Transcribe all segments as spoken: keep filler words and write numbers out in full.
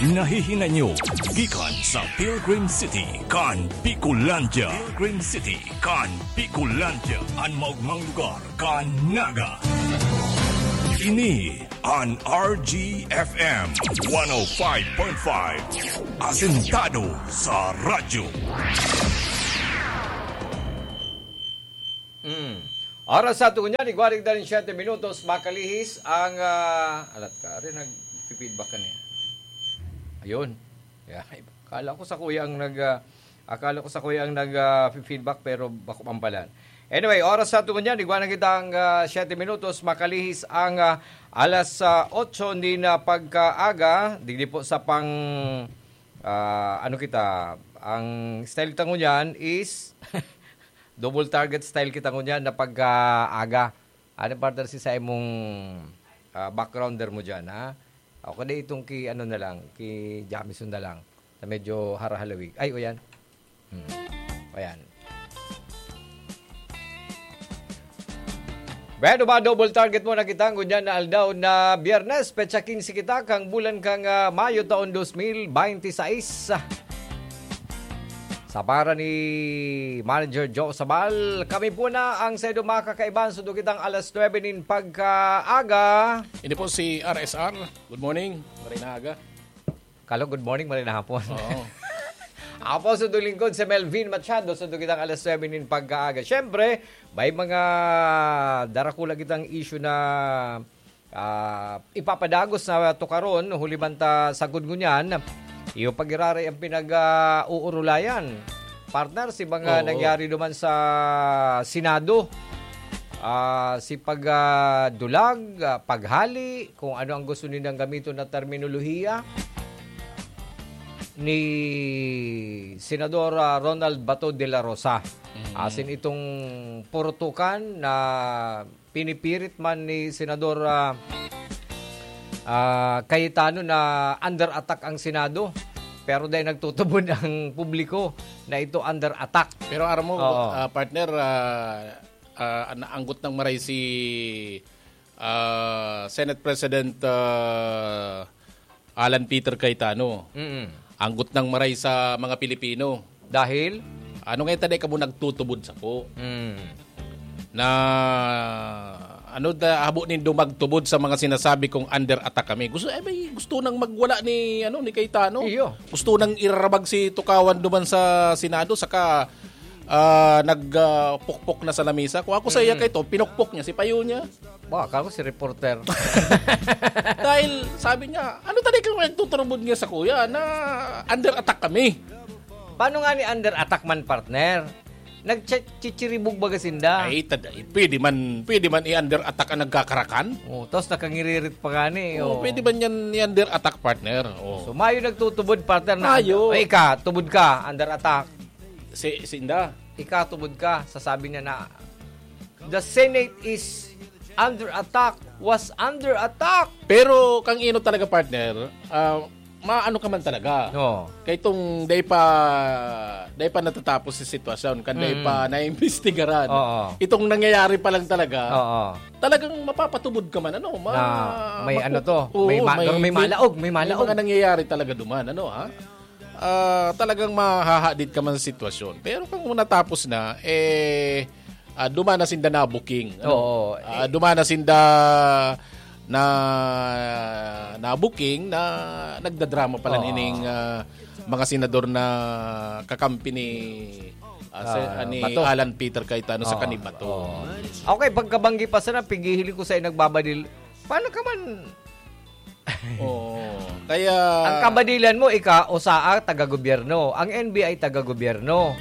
Nahihinay nyo gikan sa Pilgrim City kan Bicolandia. Pilgrim City kan Bicolandia, an maogmang lugar kan Naga. Ini an R G F M one oh five point five, asentado sa radyo. Mm. Oras sa tungo niyan, igwaring daling siyete minutos, makalihis ang, ah, alat ka, ari nag-feedback ka niya. Ayun. Yeah. Akala ko sa kuya ang nag, ah, akala ko sa kuya ang nag, ah, feedback, pero bako man pala. Anyway, oras sa tungo niyan, igwaring kita ang, ah, siyete minutos, makalihis ang, ah, alas, ah, otso ni na pagkaaga, digdi po sa pang, ah, ano kita, ang style tango niyan is double target style kita ngunyan na pagkaaga. Ano, partner, si sa imong, ah, backgrounder mo dyan, ha? Ako na itong ki, ano na lang, ki Jamison na lang, na medyo harahalawig. Ay, o yan. Hmm. O yan. Bueno, ma-double target mo na kita ngunyan na aldaw na Biyernes, petsa quince kita, kang bulan kang, ah, Mayo, taon dos mil binte seis. Sa para ni Manager Joe Sabal, kami po na ang saindo makakaiban sa dugitang alas nuebe nin pagkaaga. Ini po si R S R. Good morning. Maray na aga. Kalo, good morning, maray na hapon. Oo. Ako po sa lingkod, si Melvin Machado, sa dugitang alas nuebe nin pagkaaga. Siyempre, may mga darakula kitang issue na ah, ipapadagos na tukaron, huli man ta sagod ngunyan, iyo pagiraray ang pinag, ah, uurulayan. Partner, si mga Oo. nangyari duman sa Senado, ah, si pag, ah, dulag, ah, paghali, kung ano ang gusto nilang gamiton na terminolohiya ni Senador, ah, Ronald Bato de la Rosa. Mm. Asin itong purutukan na pinipirit man ni Senador, ah, ah, Cayetano na under attack ang Senado, pero dahil nagtutubod ang publiko na ito under attack. Pero aram mo, Oo. ah, partner, ah, ah, naanggot ng maray si, ah, Senate President, ah, Alan Peter Cayetano. Mm. Anggot ng maray sa mga Pilipino. Dahil? Ano nga yung taday ka mo nagtutubod sa po? Mm. Na, ano da, habo nindo magtubod sa mga sinasabi kong under attack kami? Gusto, eh, may gusto nang magwala ni, ano, ni Cayetano. Iyo. Gusto nang irarabag si Tukawan duman sa Senado, saka, ah, nag, ah, pukpok na sa lamesa. Kung ako sa iya Mm. kay to, pinukpok niya si payo niya. Ba, akala ko si reporter. Dahil sabi niya, "Ano taday kang nagtuturubod niya sa kuya na under attack kami?" Paano nga ni under attack man, partner? Nagchichiribog baga sinda. Ay, tad-, ay, pwede man, pwede man i-under attack ang nagkakarakan. Oh, tapos nakangiririt pa gani, Oo, oh. pwede man yan i-under attack, partner. Oh. So, mayo nagtutubod, partner, na Mayo. Ay, ika, tubod ka, under attack. Si, si Inda. Ika, tubod ka, sasabi niya na, "The Senate is under attack, was under attack." Pero kang ino talaga, partner, ah, maano ka man talaga. Oo. Kay itong dai pa, dai pa natatapos si sitwasyon, kan dai Mm. pa naimbestigaran. Oo. Itong nangyayari pa lang talaga, Oo. talagang mapapatubod ka man, ano, ma-, Na may makuku-, ano to, oo, may ma-, may, may may, malaog, may may malaog. mga nangyayari talaga duman, ano, ha? Ah, talagang mahahadit ka man sa sitwasyon. Pero kung natapos na, eh, ah, duman na sinda na booking, ano? Oo, Ah, eh. duman na sinda na, na booking na nagdadrama pala Oo. nining, ah, mga senador na kakampi ni, ah, se-, Ah, ah, ni Bato. Alan Peter Cayetano sa Oo, kanibato. oo. Okay, pagkabanggi pa sana, pighihiling ko sa nagbabadil. Paano ka man Oo. Kaya Ang kabadilan mo, ika, o saa, taga-gobyerno. Ang N B I, taga-gobyerno.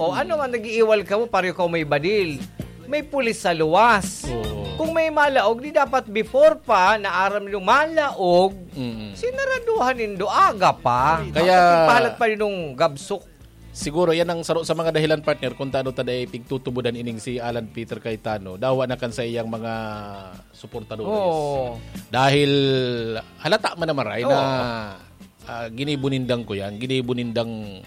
O ano nga, nag-iiwal ka mo, pareho ka may badil. May pulis sa luwas. Oo. Kung may malaog, di dapat before pa, na aram yung malaog, Mm. sinaraduhan nindo aga pa. Kaya Bakit ipahalat pa yun nung gabsok? Siguro, yan ang saro sa mga dahilan, partner, kung taano ta dai pigtutubodan ining si Alan Peter Cayetano. Dawa na kan sa iyang mga suportadores. Oo. Dahil halata man na maray na, Oo. ah, ginibo nindang ko yan, ginibo nindang,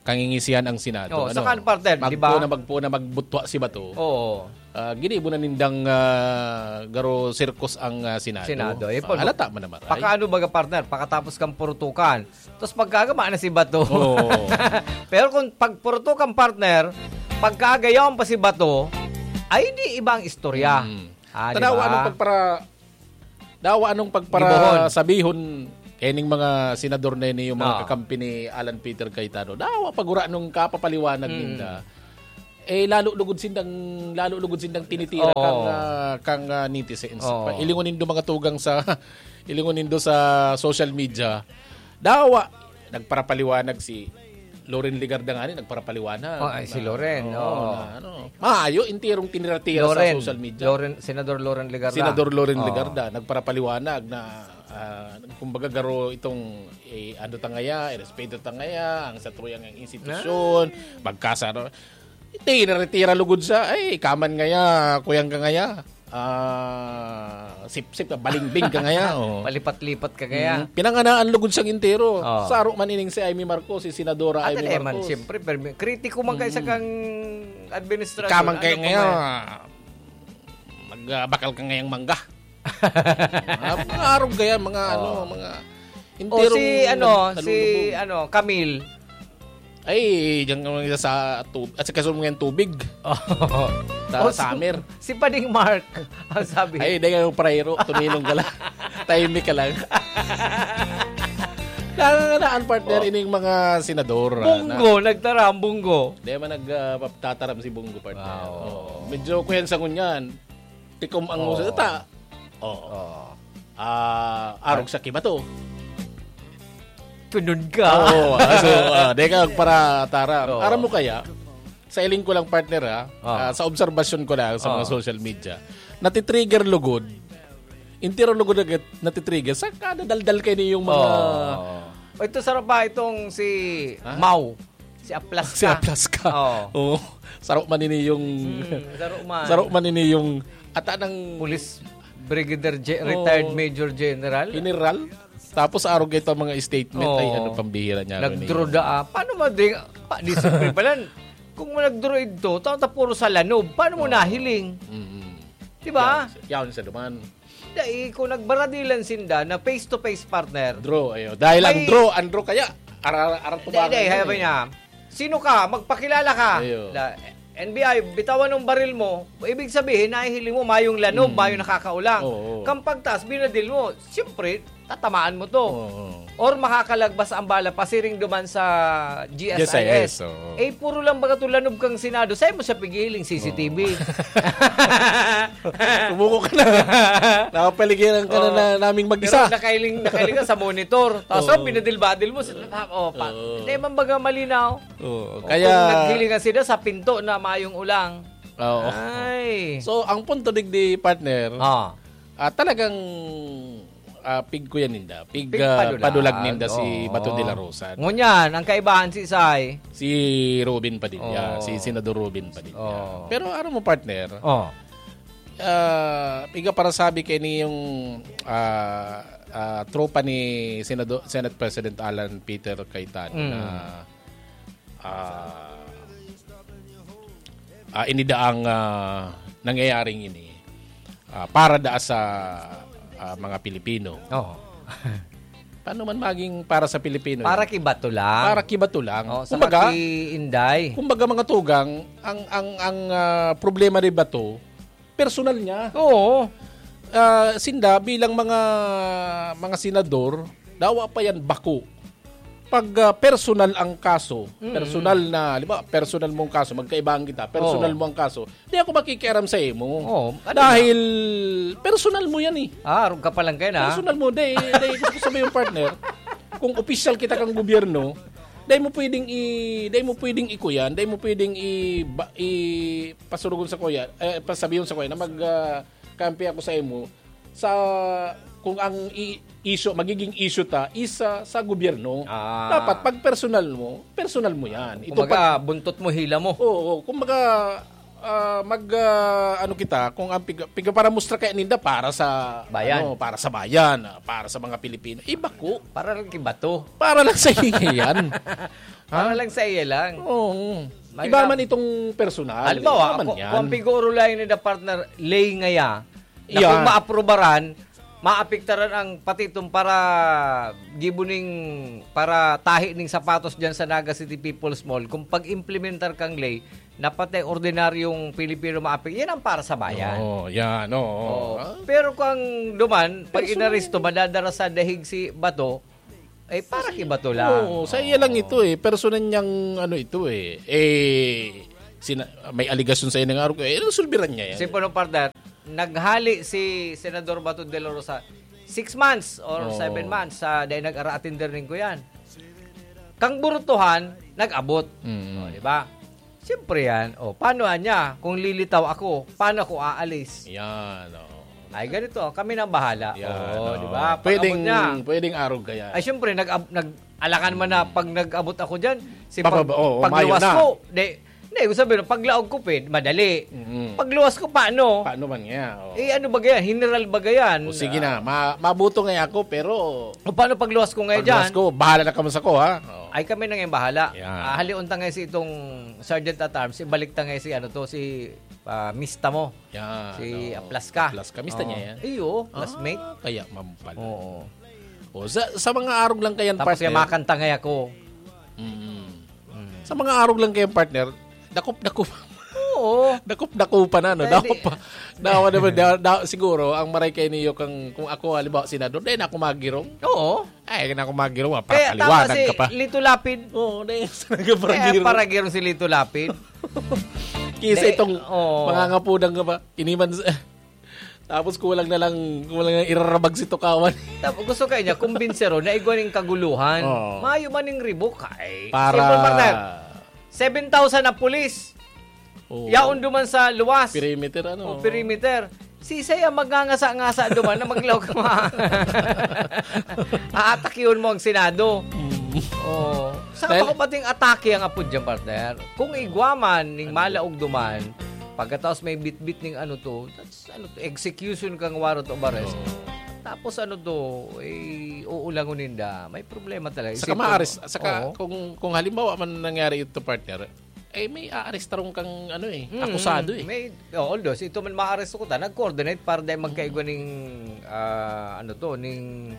kangingisihan ang Senado. Oh, ano? Saka, partner, di ba? Magpo na, magpo na, magbutwa si Bato. Oo. Ah, ginibo na nindang, ah, garo sirkus ang, ah, Senado. Senado, eh, Ah, pag-, halata man naman, ay. Pakaano baga, partner? Pakatapos kang purutukan. Tapos pagkagama na si Bato. Oo. Pero kung pagpurutukan, partner, pagkagayawan pa si Bato, ay di ibang istorya. Mm. Ah, di Tanawa ba? Anong pagpara-, dawa anong Gibohon. Pagpara-, sabihon, ening mga senador na ini, yung mga Ah. kakampi ni Alan Peter Cayetano. Dawa pagura nung kapapaliwanag Mm. ninda. Eh, lalo lugod sindang, lalo lugod sindang tinitira Oo. kang, ah, kang, ah, netizens. Oo. Pa-, ilingon nindo mga tugang sa, ilingon nindo sa social media. Dawa, nagparapaliwanag si Loren Legarda nga ni, nagparapaliwanag Oh, ay, si na, Loren, oo, oo. na, ano, maayo, enterong tinira-tira sa Loren, social media. Loren, Senador Loren Legarda. Senador Loren Oo. Legarda, nagparapaliwanag na, ah, kumbaga, garo itong, eh, ano ta ngaya, irespeto ta ngaya, ang satuyang institusyon, Ah. magkasaro. Tinira-tira lugod sa, ay, kaman ngaya, kuyang ka ngaya. Ah, sip-sip ka, balingbing ka ngaya, oh. Palipat-lipat ka ngaya. Mm, pinanganaan lugod siyang entero. Oh. Saro man ining si Imee Marcos, si Senadora At Imee alam man, Marcos. Siyempre, permi-, kritiko man kayo sa Mm. kang administrasyon. Ikaman kayo Ano pa ngaya, man? Mag, ah, bakal ka ngayang mangga. Ah, mga arog kaya, mga Oh. ano, mga O enterong si, ano, nal-, si, nalulubog. Ano, Camille. Ay, diyan ka lang sa tub-, at sa kasunod ngayon tubig. Oh. Sa O, si, summer. Si Pading Mark, ang sabi. Ay, di kayo prayro, tuminong ka lang. Tahimik ka lang. Nanganganaan, partner, Oh. ining mga senador, ah, Bunggo, na nagtaram, Bunggo. Di man nag, ah, pap-, tataram si Bunggo, partner. Ah, oo. Oh, medyo kuyan sa ngunyan. Tikom ang Oo. uso ta. Oo. Oo. Ah, arog sa kibato. Tunod ka. Oo, ah, so, ah, di ka para tara. Oo. Aram mo kaya, sa iling ko lang, partner, ha? Oo. Ah, sa obserbasyon ko lang sa mga Oo. social media, natitrigger lugod. Entero lugod na git-, natitrigger. Sa kada daldal kayo yung mga Oo. O, ito, sarap pa itong si Ha? Mau. Si Aplas Si ka. Aplas ka. Oo. Oo. Saro man ini yung Hmm, saro man. Saro man ini yung ata ng Police Brigadier Ge-, Oo. Retired Major General. General. Tapos arog ito ang mga statement. Oo. Ay, ano, pambihira niya, Nagdraw Ronnie. da, ah. Paano madring-, pa, di siyempre pala, kung nagdraw ito, tao ta puro sa lanob. Paano mo Oo. nahiling? Mm-mm. Di ba? Yaon sa, yaon sa duman. Dai, kung nagbaradilan sinda na face-to-face, partner. Draw, ayo. Dahil ang May draw, ang draw kaya, ara-, ara-, Hindi, tubangan hindi, yan sabi eh. niya, "Sino ka? Magpakilala ka." Ayo. La-, N B I, bitawan ng baril mo. Ibig sabihin, nahihiling mo, mayong lanob, Mm. mayong nakakaulang. Oo, oo. Kang pagtaas, binadil mo. Siyempre, tatamaan mo to. Oo, oo. Or makakalagbas ang bala, pasiring duman sa G S I S. G S I S, oo. Eh, puro lang baga to lanob kang Senado. Saan mo siya pigiling? C C T V. Oo. Sumuko ka na. Nakapaligiran ka na, Oo. na naming mag-isa. Pero nakahiling, nakahiling ka sa monitor. Tapos, Oo. oh, binadil-badil mo. Sa, oh, pa, Oo. hindi man baga malinaw. Oo. O Kaya kung naghilingan sila sa pinto na mayong ulang. Oo. Ay. So, ang punto digdi, partner, Ah. ah, talagang, ah, pig kuya ninda. Pig, Pig ah, padulag. padulag ninda si Oo. Bato de la Rosa. Ngunyan, ang kaibahan si Isay. Si Robin Padilla, Oo. si Senador Robin Padilla. Oo. Pero ano mo, partner? Oh. Ah, piga para sabi kay ni yung, ah, ah, tropa ni Senado-, Senate President Alan Peter Cayetano Mm. na, ah, ah, inidaang, ah, nangyayaring ini, ah, para daa sa, ah, mga Pilipino. Oo. Paano man maging para sa Pilipino Para yan? Kibato lang. Para kibato lang. Oh, saka Kumbaga, ki Inday. kumbaga, mga tugang, ang, ang, ang, ah, problema ni Bato, personal niya. Oo. Ah, sinda bilang mga, mga senador, dawa pa yan bako. Pag, ah, personal ang kaso, Mm. personal na, di ba, personal mong kaso, magkaibahan kita, personal Ah. mo ang kaso, di ako makikiaram sa imo. Oo, ano Dahil personal mo yan eh. Ah, arog ka pa lang kayo na. Personal mo, di, di, gusto ko sabihin yung partner, kung opisyal kita kang gobyerno, di mo pwedeng i-, di mo pwedeng ikuyan, di mo pwedeng i-, ba-, i-, pasurugon sa kuya, eh, pasabihon sa kuya na mag, ah, kampi ako sa imo sa kung ang i-, issue, magiging issue ta, isa sa gobyerno. Ah. Dapat pag personal mo, personal mo yan. Ito Kumbaga, pag buntot mo, hila mo. Oo, kumbaga, ah, mag, ah, ano kita, kung ang pig-, pigparamustra kaya ninda para sa, Bayan. ano, para sa bayan, ah, para sa mga Pilipino. Iba ko. Para lang kibato. Para lang sa iya yan. Para Ha? lang sa iya lang. Oo. May Iba na- man itong personal. Halimbawa, Iba man ako, yan. kung piguro lang ni the partner, lay ngaya, na Yeah. kung maaprubaran, maapektaran ang pati itong para gibo ning, para tahi ning sapatos dyan sa Naga City People's Mall, kung pag-implementar kang lay, na pati ordinaryong Pilipino maapek-, yan ang para sa bayan. Oo, yan, oo. Oo. Ah, Pero kung duman, pag Personal inaresto, yan. madadara sa dahig si Bato, eh, para ki Bato lang. Oo, sa iya lang Oo. ito eh. Personal niyang ano ito eh. Eh, sina-, may aligasyon sa inang arog. Eh, resolveran niya yan. Kasi po nung partner, naghali si Senador Bato de la Rosa, six months or Oo. seven months sa dahil nag-ara-attender ning ko yan. Kang burutuhan, nag-abot. Mm. O, di ba? Siyempre yan. O, paano niya? Kung lilitaw ako, paano ako aalis? Yan, oo. Ay, ganito. Kami nang bahala. Yan, O, oo. di ba? Pag-abot Pwedeng, niya. pwedeng arog kaya. Ay, siyempre, nag-, nag-, alangan man na pag nag-abot ako dyan, si pag-, Pababa-, oo, pagluwas mayo na. ko, di, hindi, gusto sabihin, paglaog ko, pwede, madali. Mm. Pagluwas ko, paano? Paano man nga? Oo. Eh, ano ba yan? General ba yan? O, sige na. Ma-, mabuto nga ako, pero O, paano pagluwas ko ngayon pagluwas dyan? ko, bahala na kamo sa ko, ha? Oo. Ay, kami na ngayon bahala. Yan. Ah, halion ta ngayon si itong Sergeant at Arms, ibalik ta ngayon si ano to, si, ah, mista mo. Yan, Si oo. Aplas ka. Aplas ka. Mista Oo. niya yan? Iyo, Ah, classmate. kaya mampal. Oo. O, sa, sa mga arog lang kayan, Tapos partner. kaya makanta ngayon ako. Mm. Mm. Sa mga arog lang kayan, partner, dakop-dakop. Oo. Dakop-dakop pa na, no? Dahil Dakop di- pa. Dawa naman, da-, da-, siguro, ang maray kayo niyo kang, kung ako, halimbawa, senador, dahil na ako magirong. Oo. Ay, na ako magirong, ah, Kaya para tama kaliwanag si ka pa. Lito Lapid. Oo, dahil sa Kaya nagparagirong. paragirong si Lito Lapid. Kisa Dahil, itong oo. mga ngapudang ka pa, iniman sa, tapos kulang na lang, kulang na irarabag si Tukawan. Tapos gusto kayo niya, kumbinseron na igwa ning kaguluhan. Oo. Mayo man ning ribok, ay. Para Simple, partner. Seven thousand ang pulis. Oo. Yaon duman sa luwas. Perimeter, ano? O, perimeter. Si Isay ang magngangasa-ngasa duman na maglaog ka ma-, aatakion mo ang Senado. Mm. Oo. Sa Dahil ako pating atake ang apod dyan, partner. Kung igwa man, ning Ano? malaog duman, pagkatapos may bitbit ning ano to, that's, ano to, execution kang warrant of arrest. Oo. Tapos ano to, eh, uulangon ninda. May problema talaga. Saka Isipon mo. maares-, saka Oo. kung, kung halimbawa man nangyari ito, partner, eh, may aarestarong kang, ano eh, Mm, akusado eh. may, oh, although, si ito man maaresto ko ta, nag-coordinate para dahil magkaigwa ning, ah, ano to, ning,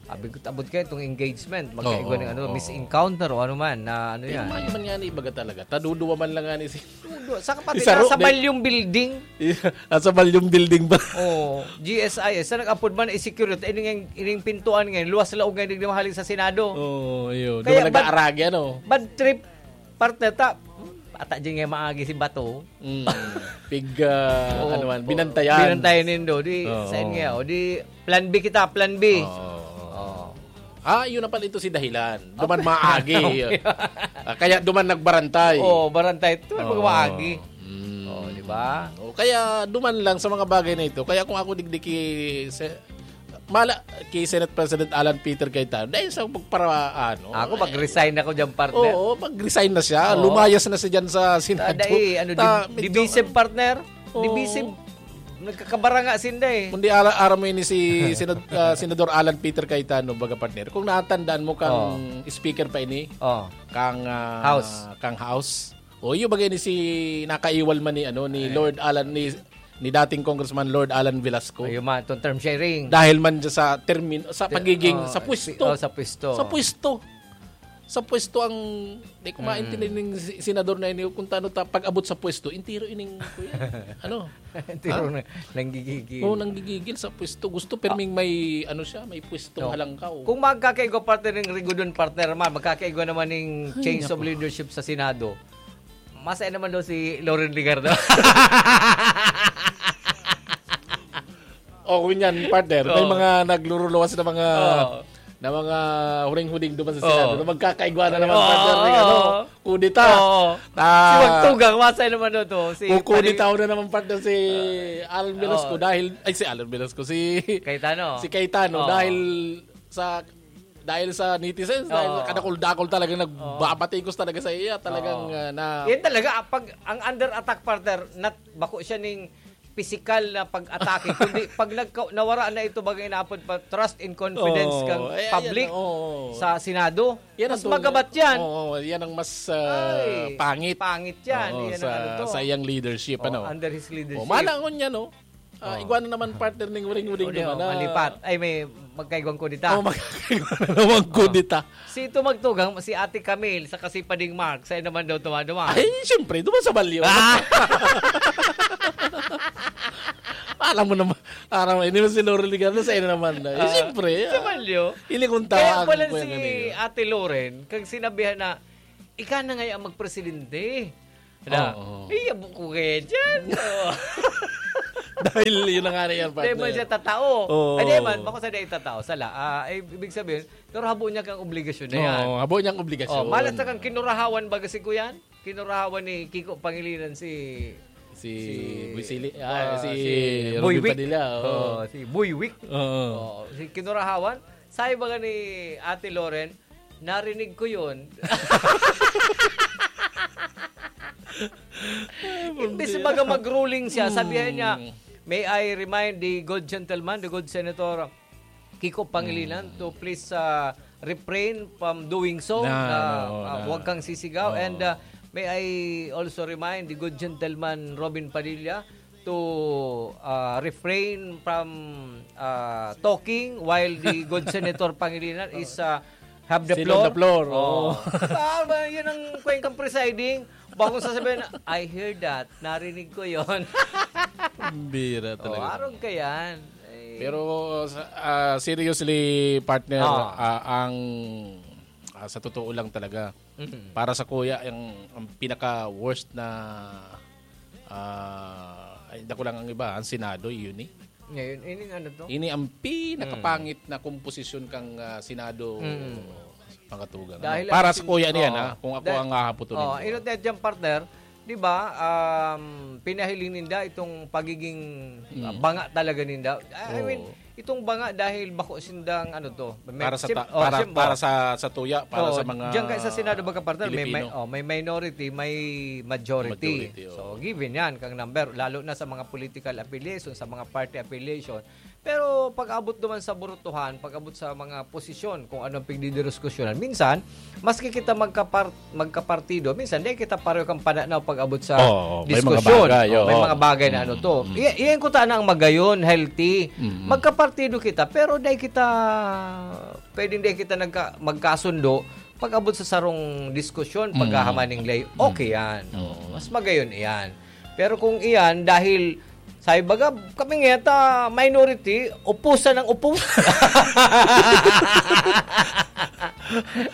abot, abot kayo itong engagement, magkaigwa Oo, ning, ano, oo. misencounter o ano man, na ano Pero yan. mayo man nga ni ibaga talaga. Taduduwa man lang nga ni si Duduwa. Saka pati Isaro, nasa di- Balyong Building. Nasa Balyong Building ba? Oo, G S I S. Sa nag-apod man, i-security. Ining, ining pintuan ngayon, luwas laog ngayon, di mahalik sa Senado. Oo, yun. Kaya Doon bad, nag-aaragi, ano? bad trip, partner, ta, ata dyan nga maagi si Bato. Mm. Pig, ah, Oo, ano man, oo. binantayan. Binantayan nindo. Di, Oo. saan nga, o di, plan B kita, plan B. Oo. Oo. Ah, yun na pala ito si dahilan. Duman maagi. Ah, kaya duman nagbarantay. Oo, barantay. Duman Oo. maagi. Mm. Oo, di ba? O, kaya duman lang sa mga bagay na ito. Kaya kung ako digdi ki-, se-, mala, ki Senate President Alan Peter Cayetano, dahil sa pagpara-, ano, Ako, eh, mag-resign ako dyan, partner. Oo, mag-resign na siya. Oo. Lumayas na siya dyan sa Senado. Tada, eh, ano, Ta-, di-, medyo divisive, partner. Oo. Divisive. Nagkakabaranga sinda, eh. Kundi ara-, aram mo ini si Senad-, ah, Senador Alan Peter Cayetano, baga, partner. Kung natatandaan mo kang Oo. speaker pa ini, Oo. kang, ah, House. kang House. O, yung bagay ni si, nakaiwal man ni, ano, ni Eh. Lord Alan, ni, ni dating Congressman Lord Alan Velasco. Ayun man, itong term sharing. Dahil man dyan sa termin-, sa Ter-, pagiging, oh, sa pwesto. si-, oh, sa pwesto. Sa pwesto. Sa pwesto ang, di ko Mm. maintindihan ng si-, senador na ini, kung tano ta, pag-abot sa pwesto, entero ining, kuya. Ano? Entero Ha? na, nanggigigil. Oo, nanggigigil sa pwesto. Gusto perming Ah. may, ano siya, may pwestong No. halangkaw. Kung magkakaigwa, partner, ng Rigudon, partner man, magkakaigwa naman ng Ay, change of naku. leadership sa Senado. Masaya naman daw si Loren Legarda. Oh, yun yan, partner. May Oo. mga nagluruluwas na mga, Oo. na mga huring-huring duman sa Oo. Senado na magkakaigwa na naman, Oo. partner, ng ano, kudeta. Oo. Ah. Si Magtugang, masaya naman daw to. Si Kukudeta Pari- na naman, partner, si Ah. Alan Velasco Oo. dahil, ay, si Alan Velasco, si Cayetano. si Cayetano Oo. dahil sa dahil sa netizens, dahil Oo. kadakol-dakol talaga, nagbabatikos talaga sa iya, talagang, Oo. ah, na Yan talaga, ah, pag ang under attack, partner, nat-, bako siya ning pisikal na pag-atake, kundi pag nagka-, nawara na ito, bagay na apod pa, trust and confidence Oo. kang Eh, ayan, public oo. sa Senado, Yan ang mas tuna-, magabat yan. oo, yan ang mas, ah, Ay, pangit. pangit yan. Oo, Yan ang sa, ano to. sa iyang leadership, Oh, ano? under his leadership. Oh, malangon niya, no? Ah, Oh. igwa na naman partner ning uring-uring Uring, naman oh, na malipat. Ay, may magkaigwang kudita. Oh, magkaigwa na naman Oh. kudita. Si ito magtugang, si Ate Camille, sa Kasipading Mark, sa'yo naman daw tumaduman. Ay, siyempre, duman sa balyo. Ah! Alam mo naman, aram mo, ini mo si Loren Legarda, sa'yo naman na. Eh, Ah, siyempre, sa ah, balyo. Ilikong Kaya tawa pala ang kuya si kanina. Ate Loren, kag sinabihan na, "Ika na ngayon ang magpresidente." Na, Oo. "Ay, yabo ko kaya dyan." Oo. Dahil yun na nga na yan, Di man partner. siya tatao. Oo. Ay, di man, bako sa di tatao. Sala. Ah, ay, ibig sabihin, pero habo niya kang obligasyon na yan. Oo, habo niyang obligasyon. Oh, malas na kang kinurahawan, baga si Kuyan? Kinurahawan ni Kiko Pangilinan si, Si si, Boy Sili-, ah, ah, si si Boy Robin Wick. Padilla, oo. Oh, si Boy Wick. Oo. Oh, si kinurahawan. Sabi baga ni Ate Loren, "Narinig ko yun." Imbis pambira. baga mag-ruling siya, sabihan niya, Hmm. "May I remind the good gentleman, the good senator, Kiko Pangilinan, Hmm. to please, ah, refrain from doing so, Na, na, oo, ah, na. huwag kang sisigaw." Oo. And, ah, may I also remind the good gentleman Robin Padilla to, ah, refrain from, ah, talking while the good Senator Pangilinan is, ah, have the Still on floor. the floor, Oo. oo. Ah, ba, yun ang kwentang presiding. Bakong sasabihin, "I hear that. Narinig ko yon." Pambira Oh, talaga. arog ka yan. Ay. Pero, sa, ah, seriously, partner, Ah. ah, ang, ah, sa totoo lang talaga, Mhm. para sa kuya, ang, ang pinaka-worst na, ah, ay, dako lang ang iba, ang Senado, yun eh. Ngayon, ini ano to? Ini ang pinakapangit Mm. na komposisyon kang, ah, Senado, Mm. mga tugang. Dahil Para ang sa sin-, kuya niyan, oo. ha, kung ako Dahil, ang hahaputunin oo, ko. inot na dyan, partner, di ba, um, pinahiling ninda itong pagiging, ah, Mm. banga talaga ninda. I, I mean, Oo. itong banga dahil bako sindang, ano to, may Para sa siyem-, ta-, oh, para, siyem-, para oh. sa, sa tuya, para Oo, sa mga diyan kay sa Senado, baga, partner, may, may, Pilipino. oh, may minority, may majority. Majority, oo. So, given yan, kang number, lalo na sa mga political affiliation, sa mga party affiliation. Pero pag-abot naman sa burutuhan, pag-abot sa mga posisyon, kung ano ang pigdidiskusyonan, minsan, maski kita magkapar-, magkapartido, minsan, di kita pareho kang pananaw pag-abot sa Oo, may mga diskusyon. bagay, Oo, may oo. mga bagay na ano Mm, to. mm. I-, iyan ko tana ang magayon, healthy. Mm. Magkapartido kita, pero di kita, pwedeng di kita nagka-, magkasundo pag-abot sa sarong diskusyon, Mm. paghahaman ning lay, Mm. okay yan. Mm. Oo, mas magayon iyan. Pero kung iyan, dahil, sabi baga, kami nga ta minority, upusan ang upos.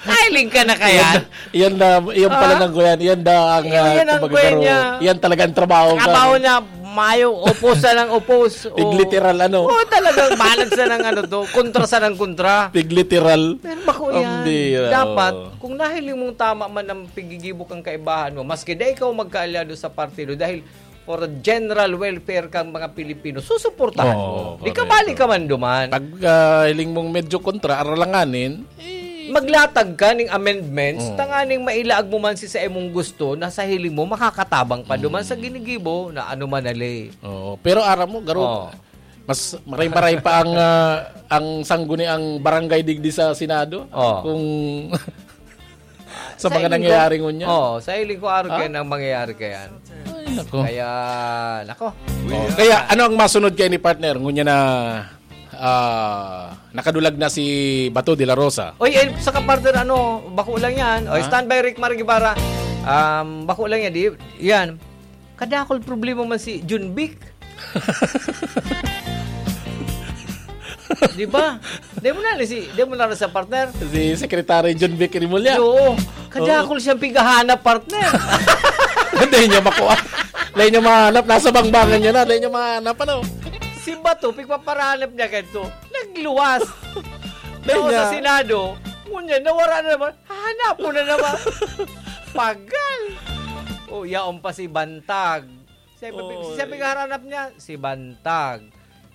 Kahiling ka na kaya? Yan, yan na, yan pala Ah? ng kuyan. Yan na ang, Yan, ah, yan ang kumbaga, kuyan pero niya. yan talaga ang trabaho ka. Trabaho niya, mayo, upos na ng upos. Oo. Tigliteral, ano? Oo, talagang balag sa ng ano to, kontra sa ng kontra. Tigliteral. Pero bako yan. Pambira, Dapat, oo. kung nahiling mong tama man ang pigigibo kang kaibahan mo, maski di ikaw magkaalyado sa partido, dahil for the general welfare kang mga Pilipino, susuportahan Oo, mo. Di ka correct. bali ka man duman. Pag, ah, hiling mong medyo kontra, aralanganin, eh, Maglatag ka ning amendments, Oo. tanganing mailaag mo man si sa imong gusto na sa hiling mo, makakatabang pa duman sa Mm. ginigibo na ano man na ley. Oo. Pero aram mo, Garo, Oo. mas maray-maray pa ang, ah, ang sangguni ang barangay digdi sa Senado. Oo. Kung sa Sa mga hiling ko, nangyayari ngunyan. oo, sa hiling ko, araw Ha? kayo nang mangyayari kayan. Ay, nako. Kaya, nako. Oh, kaya ano ang masunod kayo ni partner? Ngunya na, ah, nakadulag na si Bato de la Rosa. Oy, eh, sa kapartner, ano, bako lang yan. Oy, Ha? standby, Rick Mar Guevara. Um, bako lang yan, di, yan. Kadakol problema man si Jun Vic. Di ba? Di mo na, si, di mo na sa partner. Si Secretary Jun Vic Remulla. Oo. Kadakol Oo. siyang pighahanap, partner. Hindi niya makuha. Hindi niya mahanap. Nasa bangbangan niya na. Hindi niya mahanap, ano? Si Bato, pigpaparanap niya ganito. Nagluwas. Hindi Tapos niya. sa Senado, ngunyan, nawara na naman. Hanap mo na naman. Pagal. O, yaon pa si Bantag. Siya, Oy. siya pighahanap niya, si Bantag,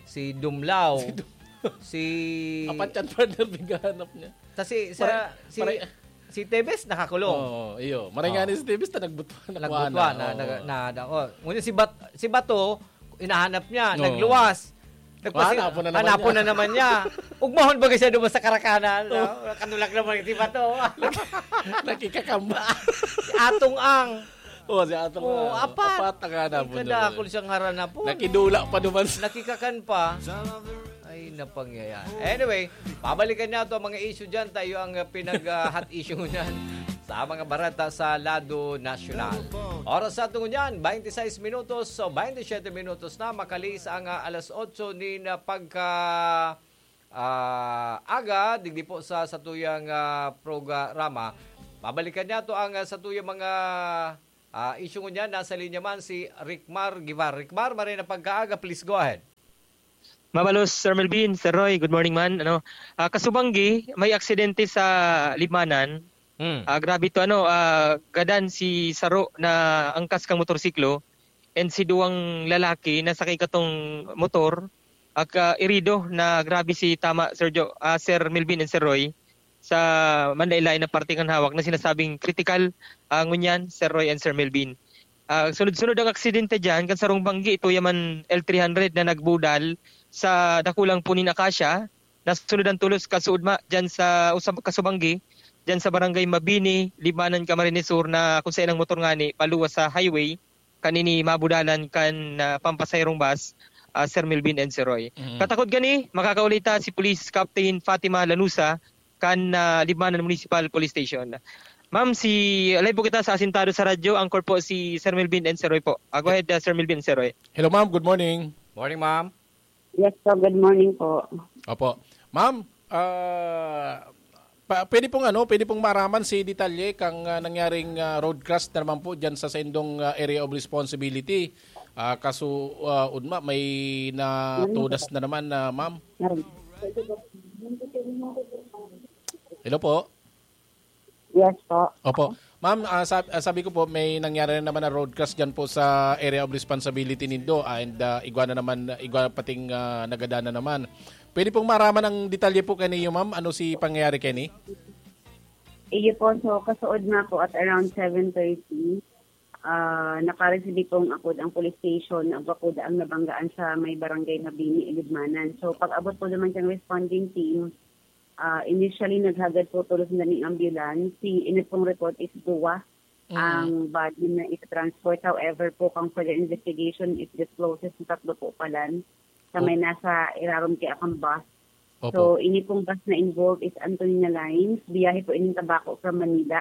si Dumlao, Si Dum- si Apat yan, partner, pighahanap niya. Kasi sa, Maray-, si, maray- si Tevez nakakulong. Oo, iyo. Maray nga Oo. ni si Tevez na nagbutwa na Nagbutwa na, Oo. na, na, na, oh. Ngunit si Bat-, si Bato, hinahanap niya, Oo. nagluwas. Hanapon na naman hanapon niya. na naman niya. Ugmahon ba siya doon sa karakanan? No? Kanulag naman si Bato. Nakikakamba. Si Atong Ang. Oh, si Atong Oh, Ang. Apat. Apat ang hanapon Kadakol doon. Siyang haranapon. Nakidula pa naman sa Nakikakan pa. Ay, napangyayari. Anyway, babalikan niya ito ang mga issue dyan. Tayo ang uh, pinag-hot issue niyan sa mga barata sa lado nasyonal. Oras sa tungo niyan, twenty-six minutos o twenty-seven minutos na. Makalis ang uh, alas otso ni na pagka ah, aga, digdi po sa satuyang uh, programa. Babalikan niya to ang uh, satuyang mga ah, issue niya. Nasa linya man si Ricmar Guivar. Ricmar, maray na pagkaaga. Please go ahead. Mabalos, Sir Melvin, Sir Roy, good morning man. Ano, ah, Kasubanggi, may aksidente sa Libmanan. Hmm. Ah, grabe to, ano, ah, gadan si saro na angkas kang motorsiklo and si duwang lalaki na sakay katong motor, aka irido na grabe si tama, Sir Jo, ah, Sir Melvin and Sir Roy, sa manlain-lain na parte kan hawak na sinasabing critical, ah, ngunyan, Sir Roy and Sir Melvin. Ah, sunod-sunod ang aksidente dyan, kan sarong banggi, ito yaman L three hundred na nagbudal sa dakulang punin akasya, nasunudan tulos kasuudma dyan sa usab kasubanggi, dyan sa barangay Mabini, Libmanan, Camarines Sur, na kung saan ang motor ngani paluwas sa highway, kanini mabudalan kan ah, pampasayrong bus, ah, Sir Melvin and Sir Roy. Mhm. Katakod gani, makakaulita si Police Captain Fatima Lanusa kan ah, Libmanan Municipal Police Station. Ma'am, si live po kita sa Asintado sa Radyo. Anchor po si Sir Melvin and Sir Roy po. Ah, go ahead, ah, Sir Melvin and Sir Roy. Hello, ma'am. Good morning. Morning, ma'am. Yes po, good morning po. Opo. Ma'am, ah, pa, pwede pong ano, pwede pong maraman si detalye kang ah, nangyaring ah, road crash na naman po diyan sa saindong ah, area of responsibility. Ah, kaso ah, udma may natudas na naman na ma'am. Hello po. Yes po. Opo. Ma'am, ah, sab- ah, sabi ko po, may nangyari na naman na road crash dyan po sa area of responsibility nindo. Ah, and ah, igwa na naman, igwa pating ah, nagada na naman. Pwede pong maraman ang detalye po kaniyo, ma'am? Ano si pangyayari kani? Iyo po, so kasuod nga po at around seven thirty, ah nakareceive pong akod ang police station na bakod ang nabanggaan sa may barangay Mabini, Ilibmanan. So pag-abot po naman kang responding team, ah initially naghagad po tulos na ning ambulance. Si init pong report is duwa ang body na ita-transport. However po, kang further investigation, it discloses na tatlo po palan sa may nasa irarom kay akang bus. Opo. So, ini pong bus na involved is Antonina Lines. Biyahe po ining Tabaco from Manila.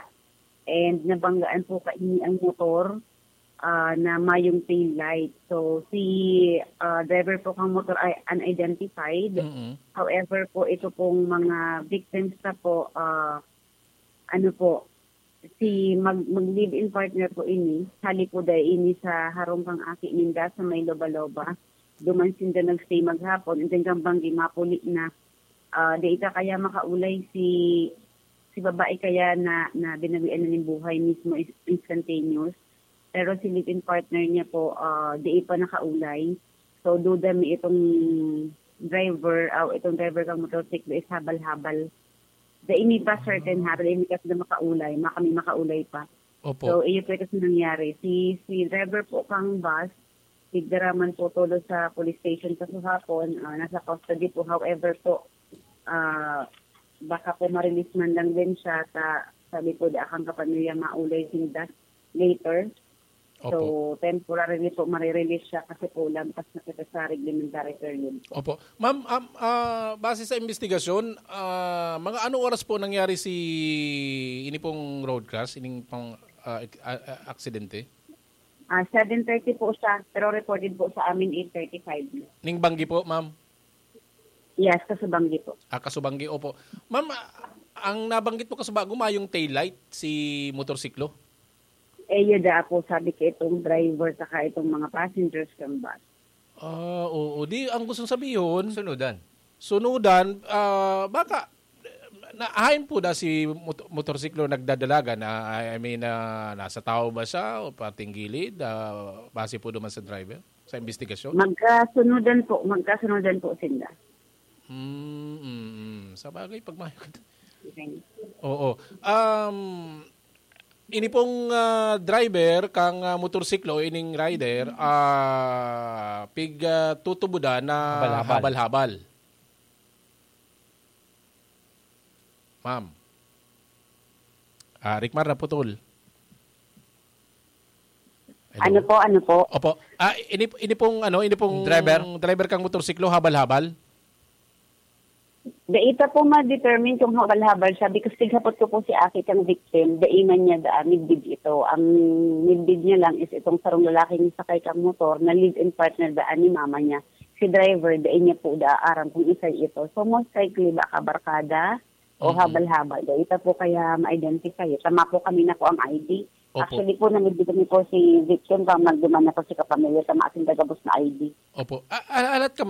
And nabanggaan po kaini ang motor ah, na mayong tail light. So, si ah, driver po kang motor ay unidentified. Mm-mm. However po, ito pong mga victims na po, ah, ano po, si mag, mag-live-in partner po ini, hali po dai ini sa harong kang aki ninda sa may Loba-Loba. Duman sinda nag-stay maghapon, and then kang banggi mapuli na. Ah, di ita kaya makaulay si si babae kaya na, na binawian na ning buhay mismo is instantaneous. Pero si live-in partner niya po, ah, di pa nakaulay. So, duda mi itong driver, ah, itong driver kang motorsiklo is habal-habal. Dai mi pa certain ha, dai mi kasi na makaulay, ma kami makaulay pa. Opo. So, iyo po ito sa nangyari. Si, si driver po kang bus, tigdaraman po tulo sa police station sa Suhapon. Ah, nasa custody po. However po, ah, baka po ma-release man lang din siya. Ta, sabi po, di akang kapamilya maulay sinda later. So, Opo. Temporarily po, marirelease siya kasi po lampas na kita sa reglementary period po. Opo. Ma'am, um, ah, base sa investigasyon, ah, mga anong oras po nangyari si ini pong road crash, ining pang ah, ek- ah, ah, aksidente? Ah, seven thirty po siya, pero reported po sa amin eight thirty-five na. Ning banggi po, ma'am? Yes, kasubanggi po. Ah, kasubanggi, opo. Ma'am, ah, ang nabanggit mo kasubago, mayong taillight si motorsiklo? Eh, yun da po, sabi ko itong driver saka itong mga passengers ng bus. Ah, oo. Di, ang gustong sabihin, Sunudan. sunudan, ah, baka, na, hain po na si mot- motorsiklo nagdadalagan, na, I mean, ah, nasa tao ba siya o pating gilid, ah, base po naman sa driver, sa investigasyon? Magkasunudan po, magkasunudan po sila. Mm, mm, mm. Sa bagay, pag mayo ka, Oo. Um, ini pong ah, driver kang ah, motorsiklo, ining rider, ah, pig ah, tutubudan na Habal-habal. Habal-habal. Ma'am. Ah, Rickmar, naputol. Hello? Ano po, ano po? Opo. Ah, ini, ini pong ano, ini pong Driver? driver kang motorsiklo, habal-habal. Dai ta po ma-determine kung habal-habal siya because tighapot ko po si Aki kang victim, dai man niya daan midbid ito. Ang midbid niya lang is itong sarong lalaki nga sakay kang motor na live-in partner daan ni mama niya. Si driver, dai niya po daan aram kung isay ito. So most likely baka barkada o Mhm. habal-habal. Dai ta po kaya ma-identify. Tama po kami na po ang I D. Opo. Actually po, namidbid kami po si victim pa magduman na po si kapamilya sa maasin gabos na I D. Opo. Ah, ah, alat ka,